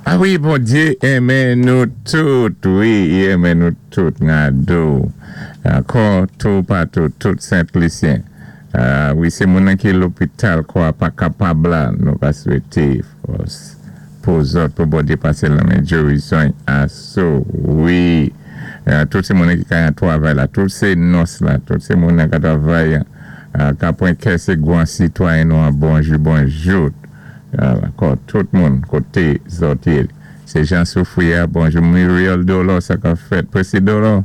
A wi, Bondyé enmen nou tout, wi, i enmen nou tout, ngado ankò toupatou, tout Sent Lisyen. A wi, sé moun-nan ki lopital kò-a pa kapab la, nou ka swété fòs pou zòt pou Bondyé pasé lanmen gerizon aso, wi. Tout sé moun-nan ki ka yan twavay la, tout sé nòs la, tout sé moun-nan ka twavay ka pwan kè sé gwan sitwayen nou an, bonjou bonjou. Ankò tout moun koté zòt yé sé jan soufri a bonjou Muriel Dolor sa kap fèt Presi Dolor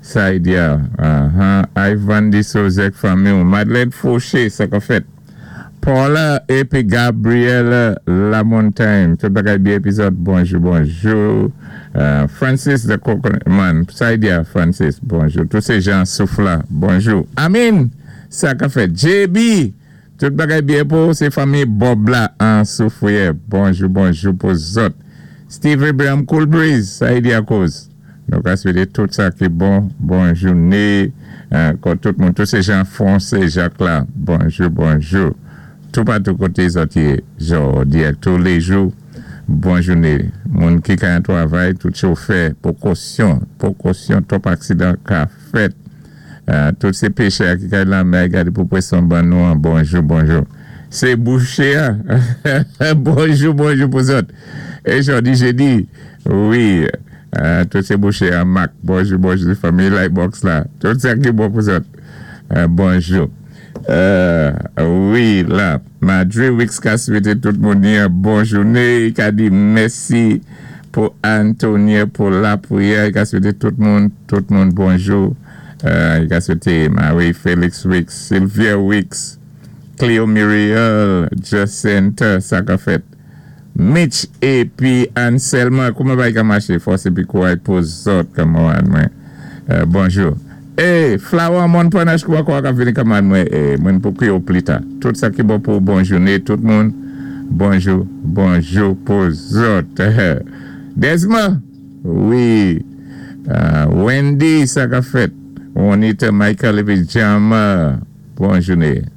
Saidia ahan Ivan Disozè ak fanmiw Madeleine Fauché sa kap fèt Paula épi Gabriel Lamontagne tout bagay byen épi zòt bonjou bonjou Francis the coconut man Saidia Francis bonjou tout sé jan souf la bonjou Amin sa kap fèt JB Tout bagay byen pou ou se fanmi Bob la an soufriyè bonjou bonjou pou zòt Steve Abraham cool breeze sa e di akoz nou ka swete tout sa ki bon bon joune ankò tout moun tout se jan fonse jak la bonjou bonjou toupatou kote zòt ye jòdi ak tou lejou bon joune moun ki ka an twavay tout chofè pokosyon pokosyon twòp aksidan ka fèt. Tout se pechè a ki kay lanmè a gade pou pweson ban nou an bonjou bonjou se bouche a bonjou bonjou pou zòt e jòdi jedi wi tout se bouche a mak bonjou bonjou fanmi lightbox la tout sa ki bon pou zòt bonjou wi la Madre Wix ka swete tout moun yon bon joune li ka di mèsi pou Antonie pou lapriyè li ka swete tout moun tout moun bonjou li ka swete Marie Felix Wix Sylvia Wix Cleo Muriel Jacinthe sa ka fèt Mitch epi Anselma kouman bagay ka mache fòs epi kouray pou zòt kamarad mwen bonjou e Flower Montparnasse kouman kò a kap vini kamarad mwen e mwen pou kriye w plita tout sa ki bon pou w bon joune tout moun bonjou bonjou pou zòt Desma wi Wendy sa kap fèt Juanita Michael epi Jama bon joune.